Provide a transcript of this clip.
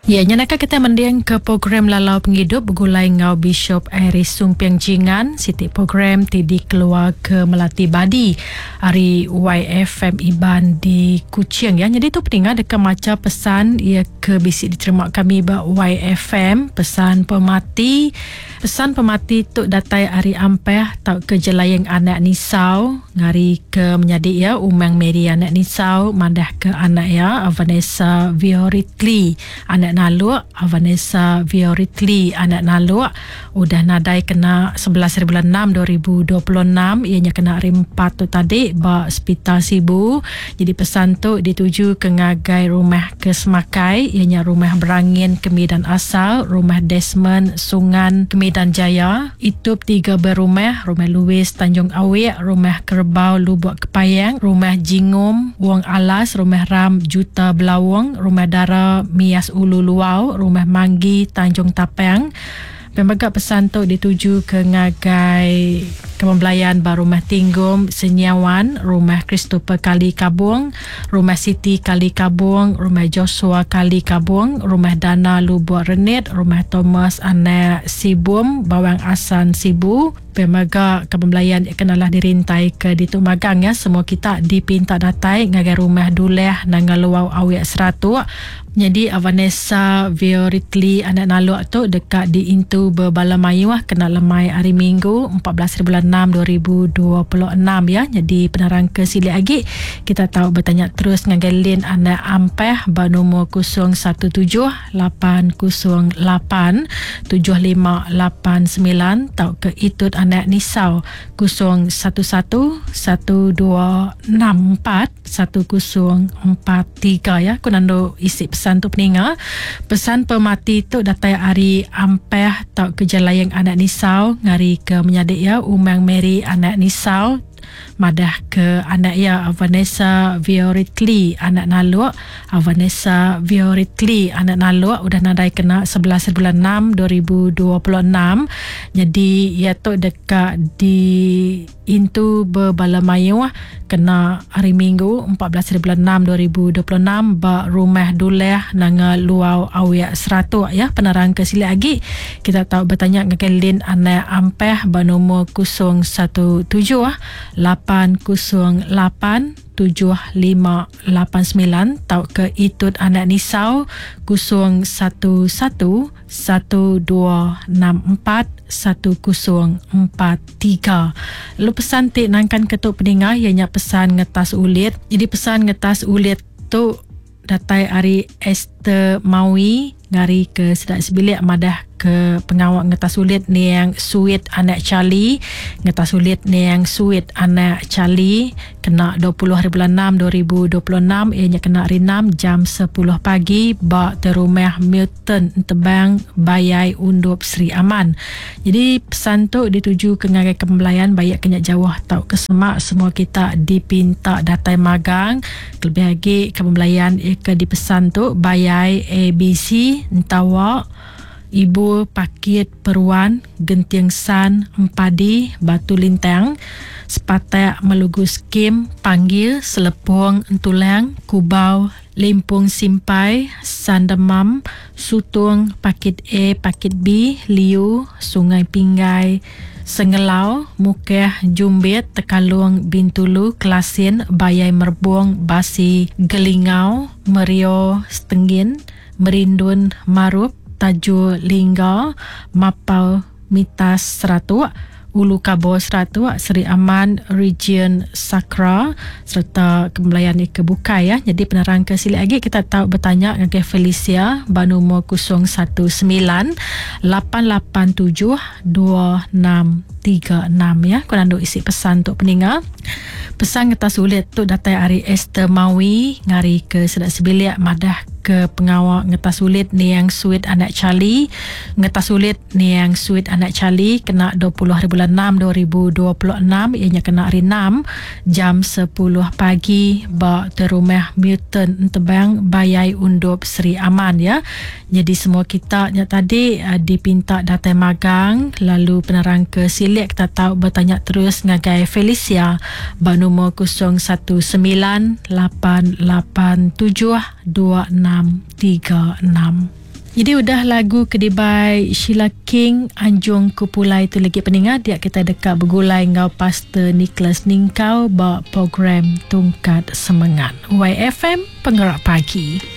Ya, nya naka kitai mending ke program Lalau Pengidup begulai enggau Bishop Iris Sumping Jingan, siti program ti dikeluar ke Melati Badi ari YFM Iban di Kuching ya. Nyadi tu peninga deka macha pesan iya ke bisi diterima kami ba YFM, pesan pemati. Pesan pemati tu datai ari Ampeh tauka Jelaing anak Nisau ngari ke menyadi iya Umang Mary anak Nisau madah ke anak iya Vanessa Vioritly anak Naluk Vanessa Vioritly anak Naluk udah nadai kena 11 hari bulan 6 2026 iya nya kena hari 4 tu tadi ba Sepital Sibu. Jadi pesan tu dituju ke ngagai rumah ke Semakai iya nya Rumah Berangin Kemidan Asal, Rumah Desmond Sungan Kemidan Jaya, Itup Tiga Berumah, Rumah Louis Tanjung Awik, Rumah Kerebau Lubok Kepayang, Rumah Jingum Wong Alas, Rumah Ram Juta Belaung, Rumah Dara Mias Ulu Luau, Rumah Manggi Tanjung Tapang. Pia mega pesan tu dituju ke ngagai Kaban Belayan ba Rumah Tinggom Senyiawan, Rumah Christopher Kali Kabong, Rumah Siti Kali Kabong, Rumah Joshua Kali Kabong, Rumah Dana Lubok Renit, Rumah Thomas Anak Sibum, Bawang Asan Sibu. Pia mega Kaban Belayan ke nalah dirintai ke ditu magang ya semua kita dipinta datai ngagai Rumah Duleh Nanga Luau Awik Seratuk. Nyadi Vanessa Vioritly anak Naluk tu deka diintu bebala mayuh kena lemai hari Minggu 14 hari bulan 6 2026 ya. Nyadi penerang ke silik agi kita tau betanya terus ngagai Lin anak Ampeh ba nomor 017 808 7589 tauka Itut anak Nisau 011 1264 1043 ya. Ku nandu isi pesan tu peninga. Pesan pemati tu datai ari Ampeh tauka Jelayang anak Nisau ngari ke menyadi iya Umang Mary anak Nisau madah ke anak iya Vanessa Vioritly anak Naluk. Vanessa Vioritly anak Naluk udah nadai kena 11 bulan 6 2026. Nyadi iya tu deka di Intu bebala mayuh kena Hari Minggu 14 hari bulan 6 2026 ba Rumah Duleh Nanga Luau Awik Seratuk ya. Penerang ke silik agi kita tau betanya ngagai Lin Anak Ampeh ba nomor 017 808 7589 tauka Itut Anak Nisau 011 1264 1043. Lalu pesan ti nangkan ke tu peninga iya nya pesan ngetas ulit. Jadi pesan ngetas ulit tu datai ari Esther Mawi ngari ke sida sebilik madah ke pengawa ngetas ulit niang Suit anak Charlie. Ngetas ulit niang Suit anak Charlie kena 20 hari bulan 6 2026 iya nya kena hari 6 jam 10 pagi ba Terumah Milton Ten Entebang Bayai Undup Sri Aman. Jadi pesan tu dituju ke ngagai kembelayan baik ke nya jauh tauka semak semua kita dipinta datai magang kelebih agi kembelayan iya ke dipesan tu Bayai ABC Entawa Ibu Pakit Peruan Genting San Empadi Batu Lintang Sepatak Melugu Skim Panggil Selepong Entulang Kubau Limpung Simpai, Sandemam, Sutung, Pakit A, Pakit B, Liu, Sungai Pinggai, Sengelau, Mukeh, Jumbit, Tekalung, Bintulu, Kelasin, Bayai Merbung, Basi, Gelingau, Merio, Stenggin, Merindun, Marup, Tajur Lingga, Mapau, Mitas Seratuk, Ulu Kabo Seratuk, Seri Aman, Region Sakra sereta kembelayan ke bukai ya. Jadi penerang ke silik agi kita tau betanya ngagai Felicia ba nomor 019 887 2636 ya. Ku nandu isi pesan tu peninga. Pesan ngetas ulit tu datai ari Esther Mawi ngari ke sida sebilik madah ke pengawa ngetas ulit niang Suit anak Charlie. Ngetas ulit Niang Suit anak Charlie kena 20 hari bulan 6 2026 iya nya kena hari 6 jam 10 pagi ba Terumah Milton Entebang Bayai Undup Sri Aman ya. Jadi semua kita nya tadi eh, dipinta datai magang lalu penerang ke silik kita tau bertanya terus ngagai Felicia ba nomor 019 887 2636. Jadi udah lagu kedibai Sheila King Anjung Ku Pulai tu lagi peningat dia kita dekat begulai ngau Pastor Nicholas Ningkau ba program Tungkat Semangat. YFM Penggerak Pagi.